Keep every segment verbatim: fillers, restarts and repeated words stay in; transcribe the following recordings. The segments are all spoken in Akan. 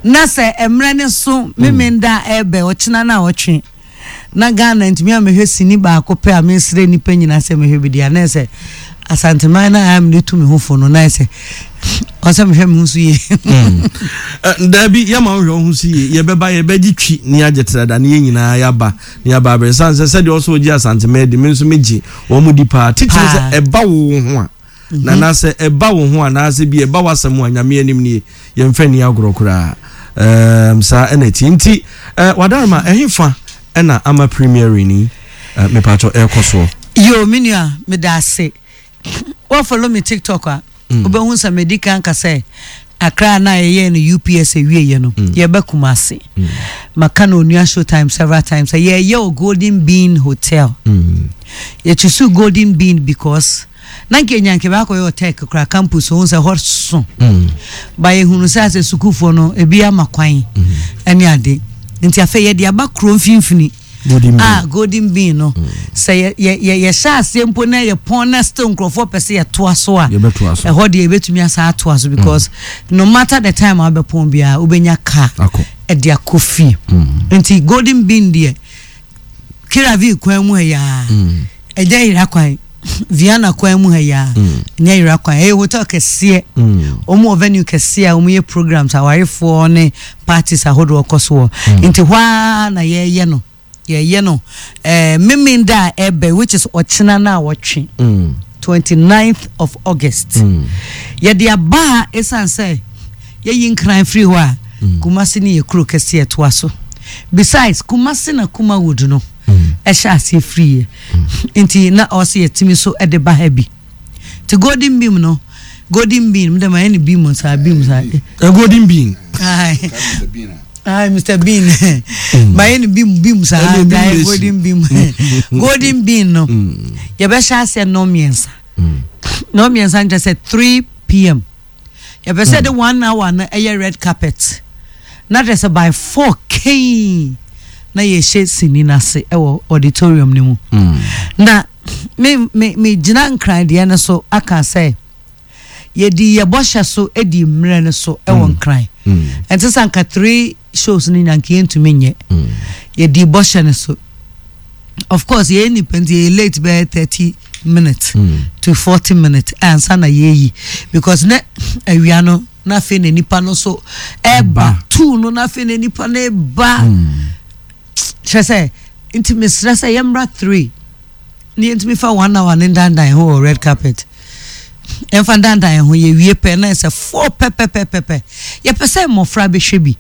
Na sɛ mmerɛ ne so Memenda ɛbɛ ɔkyena no a ɔtwe na Ghana ntumi a mehwɛ sini baako pɛ a, mesrɛ nnipa nyinaa sɛ mehwɛ bi deɛ, na sɛ Asanteman no a mede tu me ho fo no, na sɛ ɔsɛ mehwɛ me ho so yie. Daabi, yɛma wohwɛ wo ho so yie. Yɛbɛba, yɛbɛgye twi ne yɛagye trada ne yɛn nyinaa yɛaba ne yɛaba abrɛ sane sɛ sɛdeɛ ɔsɛ wogye Asanteman di, me nso megye wɔn mu di paa, titiri sɛ ɛba wo ho a na anaasɛ ɛba wo ho anaasɛ bi ɛba w'asɛm a, Nyame anim nie, yɛmfa ni agorɔ koraa. um, saa ɛna ti nti uh, wadarma ɛhe fa ɛna ama premiere ni uh, mepatɔ ɛrekɔ soɔ? Yo, me nua, meda ase. Wo follow me TikTok a, wobɛhu sɛ medi kan ka sɛ Accra na yɛyɛ no U P S awieɛ no, yɛbɛ Kumase. Maka no Onua Showtime several times sɛ yɛyɛ wɔ Golden Bean Hotel. Yɛkyisu Golden Bean because na nka ɛnya nka bɛakɔyɛ wɔ Tech kora campus ho sɛ hɔ so ba yɛhunu sɛ asɛ sukuufoɔ no ebi ama kwan ɛne ade, nti afei yɛde aba kuro mfimfini. Golden Bean. Ah, Golden Bean no, sɛ yɛ yɛ yɛ yɛhyɛ aseɛ mpo na yɛ pɔn na still nkurɔfoɔ pɛ sɛ yɛtoa so a, yɛbɛtoa so. Ɛhɔ deɛ yɛbɛtumi asa atoa so because no matter the time a wobɛpɔn biara, wobɛnya car akɔ. Ɛde akɔ fie. Nti Golden Bean deɛ, Kiravi kwan mu ha yaa, ɛnyɛ yera kwan. Vienna kwan mu ha yaa, ɛnyɛ yera kwan. Ɛyɛ hotel kɛseɛ. Wɔn wɔ venue kɛseɛ a wɔn yɛ programs awarefoɔ ne parties ahodoɔ kɔ so wɔ. Nti hɔ ara na yɛyɛ no yɛyɛ no ɛɛ Memenda a ɛbɛ, which is ɔkyena na awɔtwe, twenty ninth of August. Yɛde aba a, esan sɛ yɛyi Nkran firi hɔ a, Kumasi ne yɛ kuro kɛseɛ ɛtoa so. Besides, Kumasi na Kumawood no ɛhyɛ aseɛ firi yɛ, nti na ɔsɛ yɛtumi so ɛde ba ha bi. Nti Golden Beam no, Golden Bean mo dɛ ma yɛ ne beam saa, beam saa. Uh, golden Bean. Aye. Aye, Mister Bean. Ma yɛ ne beam beam saa. Ɛne beam Aye, na esi. Golden Beam. Golden Bean no, yɛbɛhyɛ aseɛ nnɔn mmiɛnsa. Nnɔn mmiɛnsa nkyerɛ sɛ three p m. Yɛpɛ sɛ de one hour no ɛyɛ red carpet. Na kyerɛ sɛ by four kɛn na yɛhyɛ sini n'ase ɛwɔ auditorium no mu. Na me me me gyina Nkran deɛ no so aka sɛ yɛdi yɛ bɔhyɛ so, di mmerɛ no so ɛwɔ Nkran. Ɛnte sɛ anka three shows no nya nka yɛntumi nyɛ. Yɛdi bɔhyɛ no so. Of course, yɛyɛ nipa nti yɛyɛ late bɛyɛ thirty minutes to forty minutes ansa na yɛyi, because ne awia no na afei na nipa no so ɛba. Ba. Two no na afei na nipa no ɛba. Kyerɛ sɛ nti mesrɛ sɛ yɛmmra three ne yɛntumi fa one hour ne ndandan ho wɔ red carpet. Yɛmfa ndandan ho, yɛwie pɛ na ɛsɛ four pɛpɛpɛpɛpɛ. Yɛpɛ sɛ mmɔfra bɛhwɛ bi.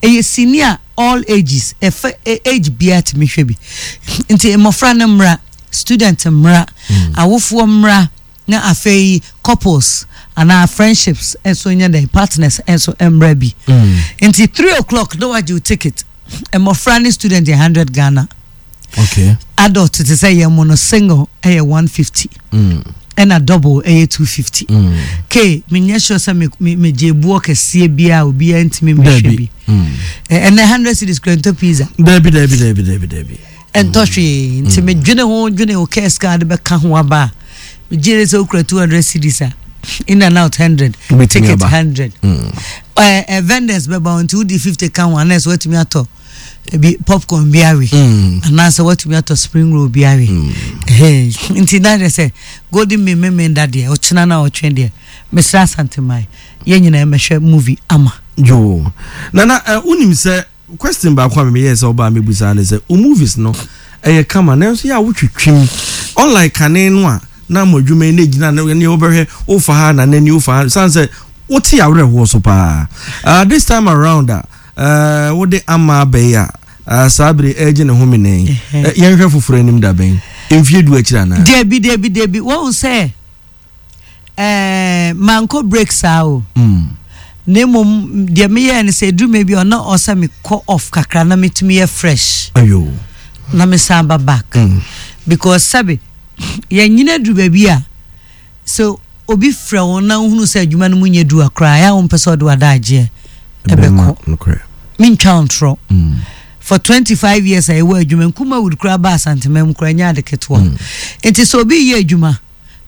Ɛyɛ sini a all ages, ɛfɛ ɛ- age biara tumi hwɛ bi, nti mmɔfra no mmra, student mmra, awofoɔ mmra, na afei couples anaa friendships nso nyɛ dɛ partners nso mmra bi. Nti three o'clock na wagye wo ticket. Mmɔfra ne student yɛ hundred Ghana. Okay adult te sɛ yɛn mo no, single ɛyɛ one fifty, ɛna double ɛyɛ two fifty. K menyɛ sure sɛ me me megye ebuo kɛseɛ biara, obiara ntumi mmɛhwɛ Dabi. bi. Ɛ- ɛnɛ hundred cedis kura ntɔ pizza. Dabi, dabi, dabi, dabi, dabi. Ɛntɔ hwee. Nti medwene ho dwene ho kɛs ka de bɛka ho aba a, megye de sɛ wokura two hundred cedis a, in and out hundred. Wobɛtumi ticket aba. hundred. ɛ ɛ vendors bɛba wo, nti wodi fifty ka ho anaasɛ woatumi atɔ ebi popcorn bi awe anaasɛ woatumi atɔ spring roll bi awe. Ɛhɛn. Nti na deɛ sɛ Golden Bean Memenda deɛ, ɔkyena no a ɔtwe deɛ, mesrɛ Asanteman yɛn nyinaa mɛhwɛ movie ama. Yo, Nana, uh, wonim sɛ question baako a memeyɛɛ sɛ wobaa mɛbusaa ne sɛ wo movies no ɛyɛ kama, nanso yɛ a wotwitwim, unlike kane no a na mo adwuma yi na ɛgyina ne ne wobɛhwɛ wofa ha na nani wofa ha sane sɛ wote awerɛhoɔ so paa. uh, this time around a uh, wode ama abɛyi a, uh, saa bere ɛgye ne ho menɛn. Ɛhɛ. uh, yɛnhwɛ foforɔ anim da bɛn? Mfie du akyiri anaa? Debi, debi, debi. Wɔn sɛ ɛɛ mankɔ break saa o. Mm. Na mmom deɛ meyɛɛ no sɛ ɛduru ma bi a ɔna ɔsɛ mekɔ off kakra na metumi yɛ fresh ayo na mesan ba back mm. because sɛbe yɛnyina duru baabi a sɛ obi frɛ wo na wohunu sɛ adwuma no mu nyɛ du a koraa, ɛyɛ a wompɛ sɛ ɔde w'adagyeɛ ɛbɛkɔ. Nokorɛ. Mentwa wo ntorɔ. Mm. For twenty-five years a ɛwɔ adwuma, Nkumawood koraa ba Asantema mu koraa nyɛ ade ketewa. Nti sɛ obi yɛ adwuma,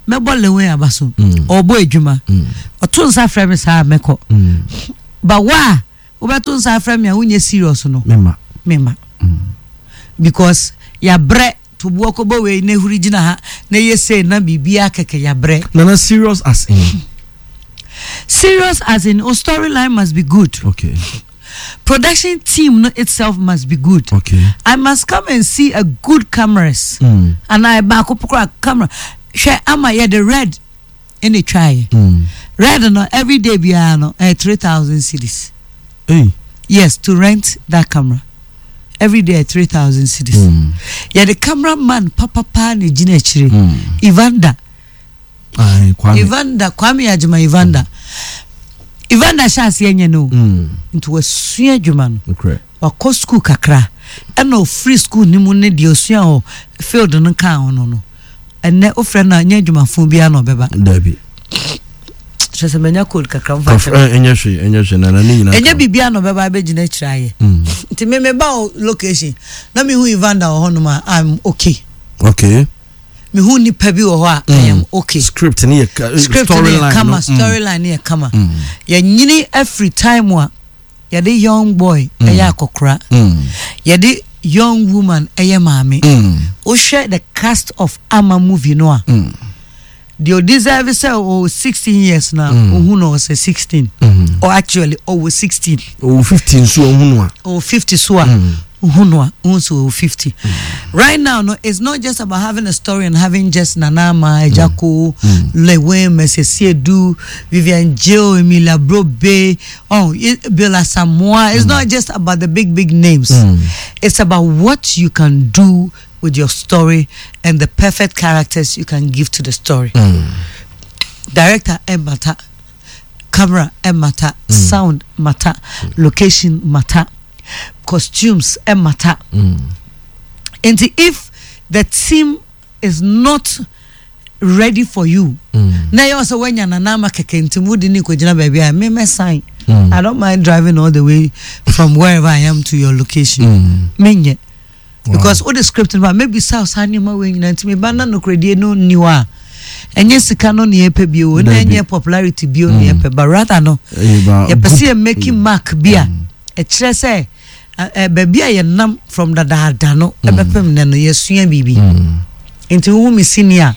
mɛbɔ lewen aba so. Mm. Ɔbɔ adwuma, Mm. ɔto nsa frɛ me saa a, mɛkɔ. Mm. Ba wa a Wobɛto nsa afrɛ me a, wonyɛ serious no. Mema. Mema, because yɛabrɛ toboɔ kɔbɔ wei na ehuri gyina ha na ɛyɛ sei na biribiara kɛkɛ, yɛabrɛ. Nana, serious as in? Serious as in, o storyline must be good. Okay production team no itself must be good. Okay I must come and see a good cameras mm. anaa baako pokora camera. Hwɛ, ama yɛde red ɛna etwaeɛ. Mm. Red no, every day biara no ɛyɛ three thousand cedis. Hey. Yes, to rent that camera every day, three thousand cedis. Mm. Yɛde cameraman papapa na egyina akyire. Mm. Evander. Aye, Kwame. Evander Kwame Agyema. Evander, Evander hyɛ aseɛ nyɛ no o. Mm. Nti wasua adwuma no. Okay. Wakɔ school kakra, ɛna ofiri school ne mu ne deɛ osua wɔ field no kaa ho no no ɛnɛ ofrɛ no a, nyɛ adwumafo biara na ɔbɛba. Dabi. Kyerɛ sɛ manya cold kakra, mfa kyerɛ. Kɔf- ɛnyɛ hwee, ɛnyɛ hwee, Nana, ne nyinaa Ɛnyɛ ka. biribiara na ɔbɛba abɛgyina akyire ayɛ. Mm. Nti me meba wɔ location na mehu Evander wɔ hɔnom a, I'm okay. Okay mehu nipa bi wɔ hɔ a, I am okay. Script ne yɛ ka- Script no yɛ storyline kama. no. Mm. Storyline no yɛ kama. Mm. Yɛnyini every time a yɛde young boy ɛyɛ akɔkora, Mm. yɛde young woman ɛyɛ maame. Mm. Wohwɛ the cast of Ama movie no a, Mm. deɛ ɔdeserve sɛ ɔwɔ sixteen years na ohu no ɔsɛ sixteen Mm. or actually ɔwɔ sixteen. Ɔwɔ fifty nso ɔhu no a. Ɔwɔ fifty so a, ohu no a, ohu sɛ ɔwɔ fifty. Right now no, it's not just about having a story and having just Nana Ama, Ejako, Lilwin, Mercy Asiedu, Vivian Jill, Emilia Brobe, oh, I- Bill Asamoah. It's not just about the big big names. It's about what you can do with your story and the perfect characters you can give to the story. Director matter, camera matter, sound matter, location matter, costumes matter. And if the team is not ready for you na yɛ sɛ woanya nanama kɛkɛ nti wode ne kɔgyina baabi a me mɛsan, I don't mind driving all the way from wherever I am to your location. Menyɛ, because wode script no ba, maybe sa saa nneɛma wei nyinaa nti meba na nokoradie no nni hɔ a, ɛnyɛ sika no ne yɛpɛ bio na Dabi. ɛnyɛ popularity bio ne yɛpɛ, but rather no yɛpɛ sɛ yɛ making mark bi a ɛkyerɛ sɛ ɛ- ɛ, baabi a yɛnam from dadaada no ɛbɛpem nɛ no, yɛsua biribi. Nti wohu me sini a,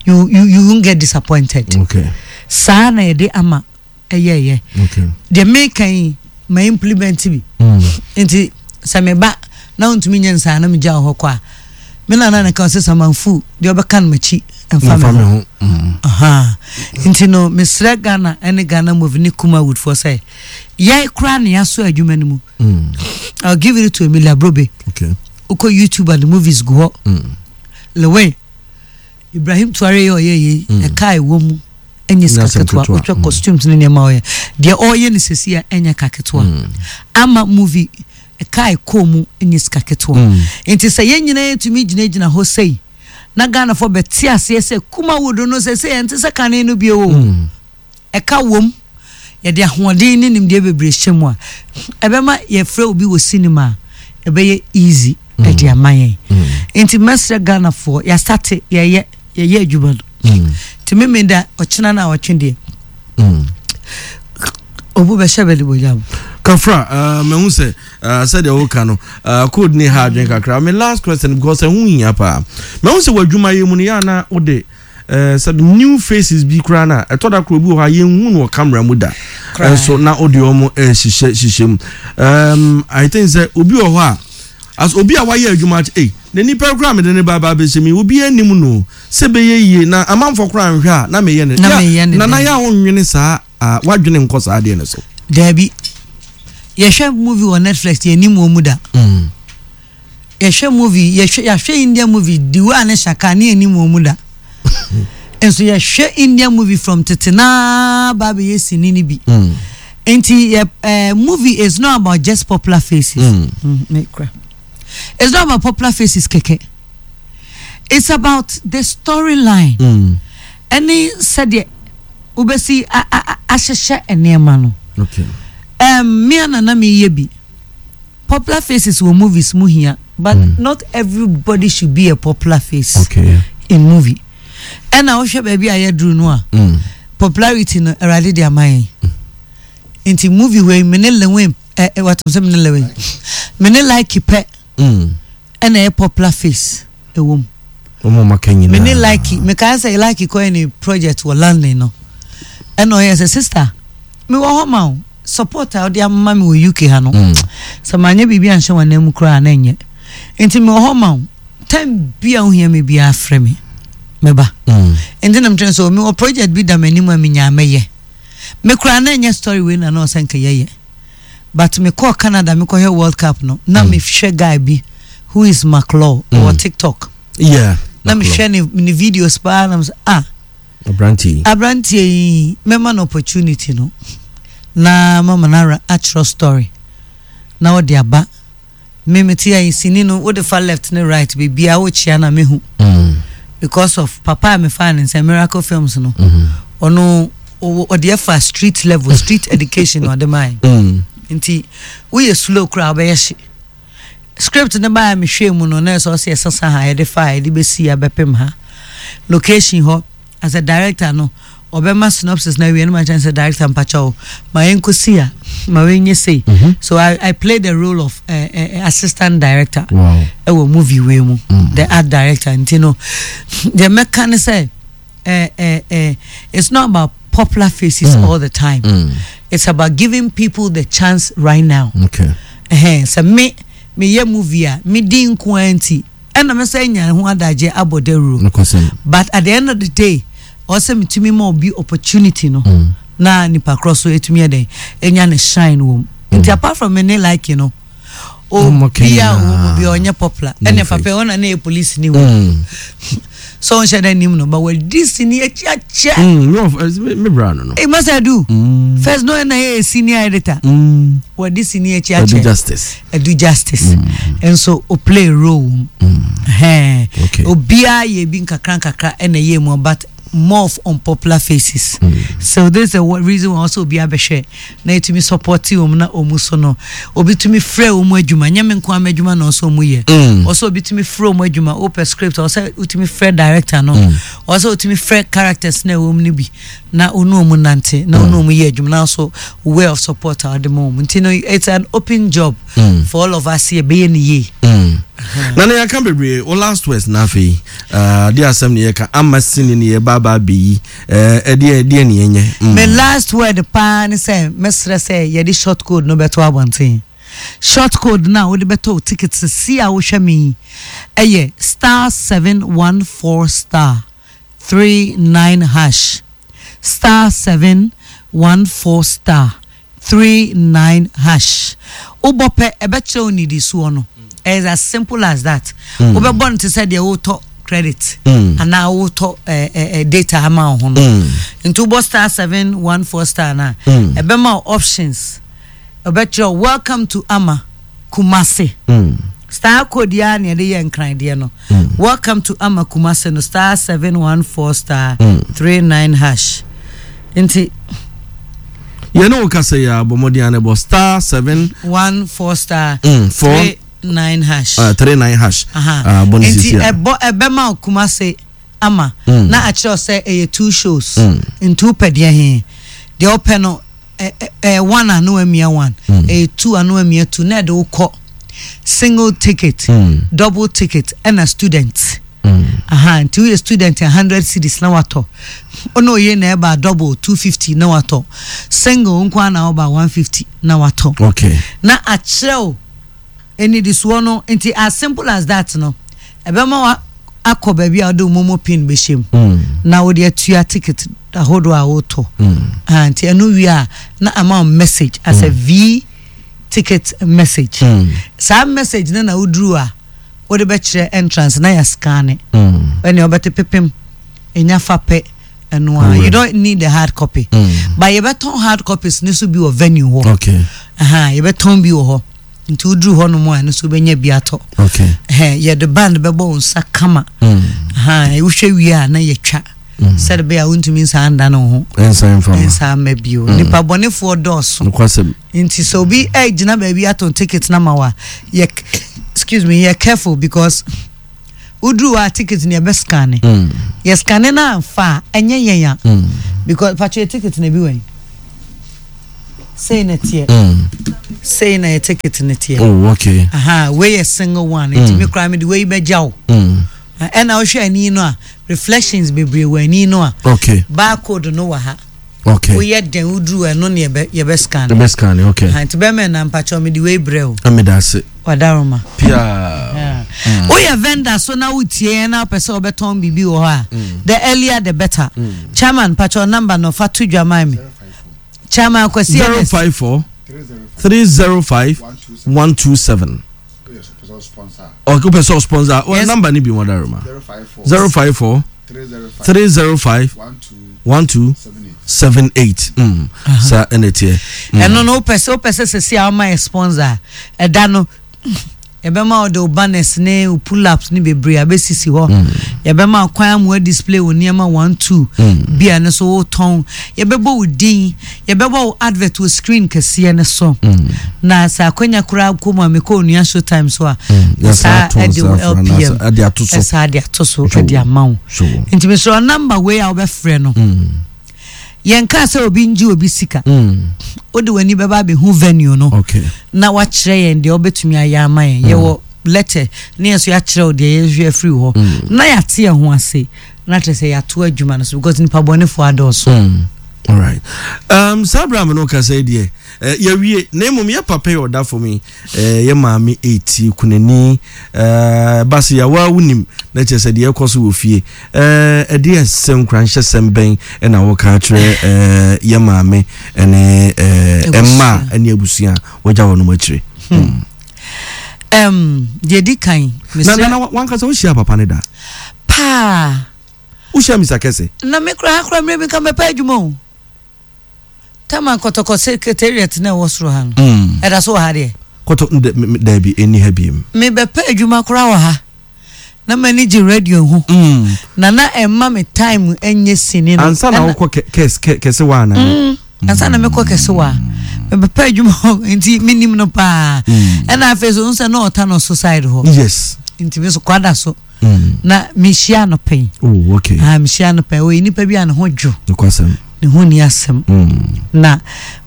you, you, you won't get disappointed. Okay saa na yɛde ama ɛyɛɛyɛ. Okay deɛ meka yi, ma implement bi. Nti sɛ meba na wontumi nyɛ nsaa na megya wo hɔ kɔ a, me nana ne ka sɛ samanfu deɛ ɔbɛka no makyi ɛmfa mfa me me ho. ho. Mm. Aha. Nti no mesrɛ Ghana ne Ghana movie ne Kumawood foɔ sɛ yɛ koraa ne yɛasɔ adwuma no mu. Mm. I'll give it to Emilia Brobe. Okay wokɔ YouTube and the movies gu hɔ. Mm. Lilwin, Ibrahim Tuare yɛ ɔyɛ yei, ɛka a ɛwɔ mu ɛnyɛ sika Nyɛ asɛm ketewa. ketewa. Wotwa Mm. costumes ne nneɛma a ɔyɛ deɛ ɔyɛ no sɛsi a, ɛnyɛ ka ketewa. Ama movie, ɛka a ɛkɔɔ mu ɛnyɛ sika ketewa. Mm. Nti sɛ yɛn nyinaa yɛtumi gyinagyina hɔ sei na Ghanafoɔ bɛte aseɛ sɛ Kumawood no sɛ sɛ yɛnte sɛ kane no bio o. Mm. Ɛka wom, yɛde ahoɔden ne nimdeɛ bebree hyɛ mu a, ɛbɛma yɛfrɛ obi wɔ cinema a, ɛbɛyɛ easy ɛde ama yɛn. Nti mɛsrɛ Ghanafoɔ, yɛasate yɛyɛ yɛyɛ adwuma no. Mm. Nti meme da ɔkyena no a ɔtwe deɛ, Mm. obu bɛhyɛ bɛde bɔgyam. Kafra, uh, mehu sɛ uh, sɛdeɛ woka no, uh, code ne ha adwene kakra. Me last question, because ɛho hia paa. Mehu sɛ w'adwuma yɛ mu no, yɛ ana wode uh, sɛ new faces bi koraa no a, ɛtɔ da koro bi wɔ hɔ a yɛnhu no wɔ camera mu da. Koraa. Ɛnso na wode ɔmo ɛhyehyɛ hyehyɛ mu. um, I think sɛ obi wɔ hɔ a, as obi a wayɛ adwuma akyɛ, ei, na nipa koraa mede ne ba ba abɛhyɛ mi, obi anim no sɛ bɛyɛ yie na amanfoɔ koraa nhwɛ a, na meyɛ ne Na Ya- meyɛ ne nana dɛn? yɛ a wonwene saa a, wadwene nkɔ saa adeɛ no so. Daabi, yɛhwɛ movie wɔ Netflix, yɛnim wɔ mu da. Mm. Yɛhwɛ movie, yɛhwɛ yɛahwɛ Indian movie Diwa ne Shaka ne yɛnim wɔ mu da. Nso yɛhwɛ Indian movie from tete naa ba bɛyɛ sini no bi. Mm. Nti yɛ uh, movie is not about just popular faces. Mm. Mm, me kura. It's not about popular faces kɛkɛ, it's about the storyline Mm. ɛne sɛdeɛ wobɛsi a- a- a- ahyehyɛ nneɛma no. Okay. um, me ana na meyɛ bi, popular faces wɔ movies mu hia, but Mm. not everybody should be a popular face Okay. in movie. Ɛna wohwɛ baabi a yɛduru no a, Mm. popularity no, Awurade de ama yɛn. Nti movie wei, me ne Lilwin ɛ ɛ watam sɛ me ne Lewin, me ne Like pɛ Mm. ɛna ɛyɛ popular face ɛwɔ mu. Ɔmo ma ka nyinaa. Me ne Like, mekae sɛ Like kɔyɛ ne project wɔ London no, ɛna ɔyɛ sɛ, "Sister, mewɔ hɔ ma wo support a wode ama me wɔ U K ha no, Mm. sɛ manyɛ biribi anhyɛ wɔn mu koraa na ɛnyɛ, nti mewɔ hɔ ma wo. Time bi a wohia me biara, frɛ me, mɛba." Mm. Nti na metwɛn sɛ mewɔ project bi da m'anim a menyaa mɛyɛ. Me koraa na ɛnyɛ story wei na na ɔsɛ nka yɛyɛ, but mekɔɔ Canada mekɔhwɛ World Cup no na Mm. mehwɛ guy bi who is McLaw, ɔwɔ Mm. TikTok. Yeah. Na mehwɛ ne ne videos paa na mesɛ, "Ah, Aberante yi. Aberanteɛ yi, mɛma no opportunity no na mama no ara atwerɛ story na wɔde aba." Me mete ayi sini no, wode fa left ne right, biribiaa wokyia na mehu Mm. because of papa a mefaa ne nsɛ Miracle Films no. Mhm. Ɔno ɔwɔ- ɔde ɛfa street level, street education na ɔde mae. Mm. Nti woyɛ slow koraa, wobɛyɛ hye. Script no baa mehwɛ mu no, na ɛsɛ ɔsɛ yɛsesa ha, yɛde fa ha, yɛde bɛsi abɛpem ha, location hɔ. As a director no, ɔbɛma synopsis na awie no, ma kyɛn sɛ, "Director, mpakyɛw, ma yɛnkɔsi a ma wɔnyɛ sei." Mhm. So I, I played the role of uh, uh, assistant director Wow. ɛwɔ movie wei mu, Mm. the art director. Nti no, deɛ mɛka ne sɛ eh, eh, eh, it's not about popular faces Mm. all the time. Mm. It's about giving people the chance right now. Okay. Ɛhɛn, sɛ me meyɛ movie a medi nko ara nti ɛna mɛ sɛ nya ho adagye abɔ dawuro. Nokwasɛm. But at the end of the day, ɔsɛ metumi ma obi opportunity no Mm. na nipa korɔ so etumi yɛ dɛn enya ne shine wɔ mu. Nti apart from me ne Like no, Ɔmo obi a nyinaa. ɔwɔ mu bi a ɔnyɛ popular No ɛna face. papa ɔna ne yɛ police ni wɔ Mm. so ɔnhyɛ dɛ nim no, but wɔdi sini akyi akyɛ. Mm. Me of- eh, me me bra no no. Ee, masa du Mm. first no, ɛna yɛ senior editor. Mm. Wɔdi sini akyi Adu akyɛ. Justice. Adu Justice nso o play role mu. Mm. Ɛhɛn. Okay. Obiara yɛ bi nkakra nkakra ɛna ɛyɛ mu, but more of unpopular faces. Mm. So this is the wa- reason why also obiara bɛhwɛ na etumi support wɔn na wɔn so no, obi tumi frɛ wɔn adwuma. Nyɛ me nko ama adwuma na ɔsɔ wɔn yɛ. Mm. Ɔsɔ obi tumi frɛ wɔn adwuma. Wopɛ script, ɔsɛ wotumi frɛ director no. Mm. Ɔsɛ wotumi frɛ characters na ɛwɔ mu no bi na ɔne wɔn nante na ɔne wɔn yɛ adwuma na also way of support a ɔde ma wɔn. Nti no, it's an open job Mm. for all of us, yɛ bɛyɛ ne yie. Mm. Na ne yɛka bebree o, last words na afei uh, de asɛm ne yɛka ama sini ne yɛba aba abɛyi ɛdeɛ ɛdeɛ ne yɛnyɛ. Mm. Me last word paa ne sɛ mɛsrɛ sɛ yɛde short code no bɛto abɔnten. Short code no a wode bɛtɔ wo ticket sisi a wohwɛ me yi ɛyɛ star seven one four star three nine hash, star seven one four star three nine hash. Wobɔ pɛ, ɛbɛkyerɛ wo nnidisoɔ no. Ɛyɛ as simple as that. Mm. Wobɛbɔ no te sɛ deɛ wotɔ credit Mm. anaa wotɔ eh, eh, eh, data ama wo ho no. Mm. Nti wobɔ star seven one four star na Mm. ɛbɛma wo options, ɛbɛkyerɛ wo "Welcome to Ama Kumase". Mm. Star code ya na yɛde yɛ nkran deɛ no. Mm. "Welcome to Ama Kumase" no, star seven one four star Mm. three nine hash. Nti Yɛne wo kasa yi a, bɔ mmɔden a ne bɔ star seven one four star mm, four three nine hash. uh, three nine hash. Aha. Uh, bɔ ne Nti sisi a. ɛbɔ, ɛbɛma wo Kumase Ama Mm. na akyerɛ wo sɛ ɛyɛ two shows. Mm. Nti wopɛ deɛ he, deɛ wopɛ no, ɛ- ɛ- ɛyɛ one a, na wamia one. Mm. Ɛyɛ two a, na wamia two, na ɛde wokɔ single ticket, Mm. double ticket, ɛna student. Mm. Aha, nti woyɛ student a, hundred cedis na watɔ. Ɔna oye na ɛba double, two fifty na watɔ. Single nko ara na ɔba, one fifty na watɔ. Okay. Na akyerɛ wo enidisoɔ no. Nti as simple as that no, ɛbɛma wa akɔ baabi a wode wo MoMo PIN bɛhyɛ mu Mm. na wode atua ticket ahodoɔ a wotɔ. Mm. Ah, nti ɛno wie a, na ama wo message as a v ticket message. Mm. Saa message no na woduru a, wode bɛkyerɛ entrance na yɛ scan. Mm. Ɛne wobɛte pepem ɛnya fa pɛ ɛno a, you don't need the hard copy. Mm. But yɛbɛtɔn hard copies ne so bi wɔ venue hɔ. Okay. Aha, yɛbɛtɔn bi wɔ hɔ, nti woduru hɔ nom a, ɛno so wobɛnya bi atɔ. Okay. Ɛhɛn, yɛde band bɛbɔ wo nsa kama. Mm. Aha, wohwɛ wie a, na yɛtwa Mm. sɛde bɛyɛ a wontumi nsa nda ne wo ho. Ɛnsan mfa ma. Nsa mma bio. Nipa bɔnefoɔ dɔɔso. Nokwasɛm. Nti sɛ obi ɛgyina baabi atɔn ticket na ma wa, yɛ, excuse me, yɛ careful because woduru hɔ a, ticket no yɛbɛ scan. Mm. Yɛ scan no amfa a, ɛnyɛ yɛn a Mm. because patro, yɛ ticket na bi wɛn sei na teɛ. Mm. Sei na yɛ ticket ne teɛ. Oh, okay. Aha, wei yɛ single one. Nti me koraa mede wei bɛgya wo. Mm. Ɛna wohwɛ ani no a, reflections bebree wɔ ani no a. Okay. Barcode no wɔ ha. Okay. Woyɛ dɛn woduru ɛno ne yɛbɛ yɛbɛ scan. Yɛbɛ scan, okay. Aha, nti bɛmɛ na mpakyɛw mede wei brɛ wo. Ameda ase. Wadaroma. Pia. Woyɛ vendor so na wotie yɛn na wopɛ sɛ wobɛtɔn biribi wɔ hɔ a, the earlier the better. Chairman, pakyɛw number no fa to dwa ma me. Chairman Kwasi Zero Ernest. five four three zero five one two seven. Okay, wopɛ sɛ sponsor. Well, Yes. number ni bi wadaroma. Zero five four three zero five one two seven eight. Mm. Sa ɛna ɛteɛ. Mm. Ɛno no wopɛ sɛ wopɛ sɛ sɛsi a woma yɛ sponsor a, ɛda no yɛbɛma wo de wo banners ne wo pull-ups ne bebree abɛsisi hɔ. Yɛbɛma wo kwan ama display wo nneɛma one two bi a no so wotɔn. Yɛbɛbɔ wo din, yɛbɛbɔ wo advert wɔ screen kɛseɛ no so. Na sɛ akwanya koraa kɔ mu a, mekɔ Onua Showtime so a, Yɛsan saa ato ɛde wo nsa afra L P M anaasɛ ɛde ato so. Ɛsaa de ato so Sure. ɛde ama wo. Sure. Nti mesrɛ number wei a wobɛfrɛ no, yɛnka sɛ obi ngye obi sika. Mm. Wode w'ani bɛba abɛhu venue no Okay. na wakyerɛ yɛn deɛ wobɛtumi ayɛ ama yɛn. Yɛwɔ letter ne yɛn so yɛakyerɛ wo deɛ yɛhwɛ afiri hɔ na yɛate yɛn ho ase na kyerɛ sɛ yɛato adwuma no so, because nipa bɔnefoɔ adɔɔso. Mm. All right. Um, saa berɛ a me no kasa yi deɛ, eh, yɛwie, na mmom yɛ papa yi ɔda fam yi, eh, yɛ maame ɛti kunani, eh, base yɛwa wonim na kyerɛ sɛ deɛ ɛkɔ so wɔ fie, eh, ɛdeɛ sɛ nkuranhyɛ sɛm bɛn ɛna wɔka kyerɛ eh, yɛ maame ɛne eh, ɛma ɛne abusua a wɔgya wɔn nom akyire? um, deɛ di kan, na mesrɛ na na wankasa wohyia papa ne da? Paa. Wohyia Misa Kɛse? Na me koraa koraa mmerɛ bi nka mɛpɛ adwuma o. Tama Kɔtɔkɔ secretariat na ɛwɔ soro ha no, Mm. ɛda so wɔ ha deɛ? Kɔtɔ ndɛ- me- me- daabi, ɛnni ha biem. Mebɛpɛ adwuma koraa wɔ ha na m'ani gye radio ho Mm. na na ɛma me time ɛnyɛ sini no. Ansa na Ɛna- wokɔ kɛ- kɛs- kɛ- kɛse wa ana? Mm, ansa na mekɔ kɛse wɔ a mebɛpɛ adwuma hɔ, nti menim no paa. Mm. Ɛna afei so nsɛ na ɔta no so side hɔ. Yes. Nti me so kwada so Mm. na mehyia no pɛn. Oh, okay. Ah, mehyia no pɛn. Ɔyɛ nipa bi a ne ho dwo. Nokwasɛm. Ne ho ni asɛm. Mm. Na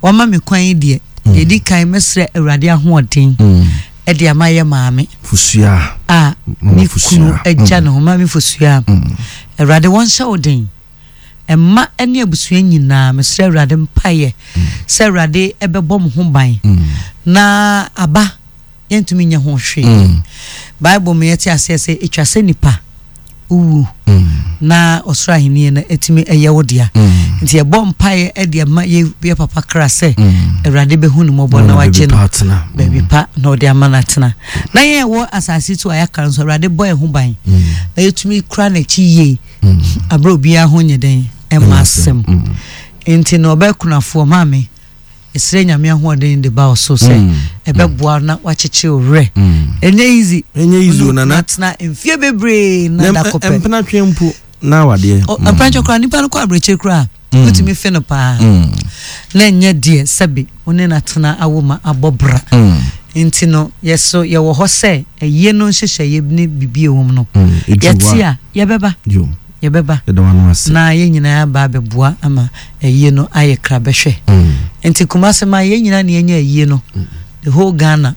wama me kwan yi deɛ, yɛdi kan mɛsrɛ Awurade ahoɔden Mm. ɛde ama yɛ maame Fusua. a Mama ne Fusua. kunu agya ne ho. Maame Fosua, Mm. Awurade wɔnhyɛ wo den. Ɛma ne abusua nyinaa, mesrɛ Awurade mpayɛ sɛ Awurade ɛbɛbɔ mo ho ban. Mm. Na aba yɛntumi nyɛ ho hwee. Mm. Bible mu yɛte aseɛ sɛ ɛtwa sɛ nipa wowu Mm. na ɔsoro ahenni no ɛtumi ɛyɛ wo dea. Mm. Nti yɛbɔ mpaeɛ ɛde ama yɛ yɛ papa kra sɛ Mm. Awurade bɛhu ne mmɔbɔ na wagye baabi no pa atena. Baabi pa na ɔde ama no atena. Na yɛn a ɛwɔ asase so a yɛaka nso, Awurade bɔ yɛn ho ban Mm. na yɛtumi kura n'akyi yie Mm. aberɛ obiara ho nyɛ dɛn ɛma asɛm. Mm. Nti na ɔbɛkunafoɔ maame, ɛsrɛ Nyame ahoɔden de ba wo so sɛ Mm. ɛbɛboa na wakyekyere wo werɛ. Mm. Ɛnyɛ easy. Ɛnyɛ easy o, Wone Nana. atena mfie bebree na da Na kɔpɛ. mpena twe mpo na awadeɛ. Ɔ- mprantwe koraa nipa no kɔ aberɛkyiri koraa, Mm. wotumi fe no paa Mm. na ɛnyɛ deɛ sɛbi wo ne no atena awo ma abɔ bra. Mm. Nti no yɛso yɛwɔ hɔ sɛ ɛyie no nhyehyɛeɛ ne biribi ɛwɔ mu no, Mm. Ɛduru yɛte hɔ a yɛbɛba. Yo. Yɛbɛba. Yɛda wano ase. Na yɛn nyinaa aba abɛboa ama ɛyie no ayɛ krabɛhwɛ. Mm. Nti Kumase ma yɛn nyinaa ne yɛnya ayie no, the whole Ghana.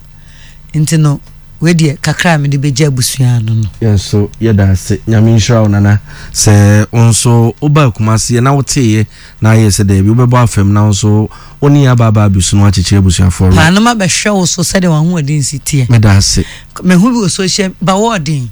Nti no wei deɛ kakra a mede bɛgye abusua no no. Yɛn nso yɛda ase. Nyame nhyira wo, Nana, sɛ wo nso woba Kumase na woteeɛ na ayɛ sɛ daabi wobɛbɔ afam na wo nso wo ne yɛ aba aba abɛsu no akyekyere abusuafoɔ werɛ. Paa no ma bɛhwɛ wo so sɛdeɛ w'ahoɔden si teɛ. Meda ase. Mehu bi wɔ social ba wɔɔden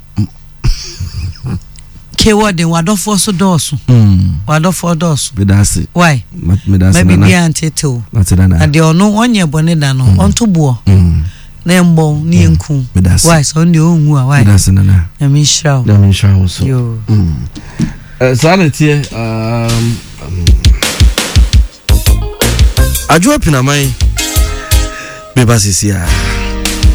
ke wɔɔden wadɔfoɔ so dɔɔso. Mm. Wadɔfoɔ dɔɔso. Meda ase. Why? Ma- meda Ma ase, Nana. biribiara ntetew. Mate, Nana. Na deɛ ɔno ɔnyɛ bɔne da no, ɔnto boɔ Mm. na ɛmbɔ ne yɛnku. Meda ase. Why sɛ ɔno deɛ ɔnwu a, why? Meda ase, Nana. Nyame nhyira wo. Nyame nhyira wo so. Yo. Mm. Eh, saa na ɛteɛ. um, um, adwoa Pinaman bɛba sesi a.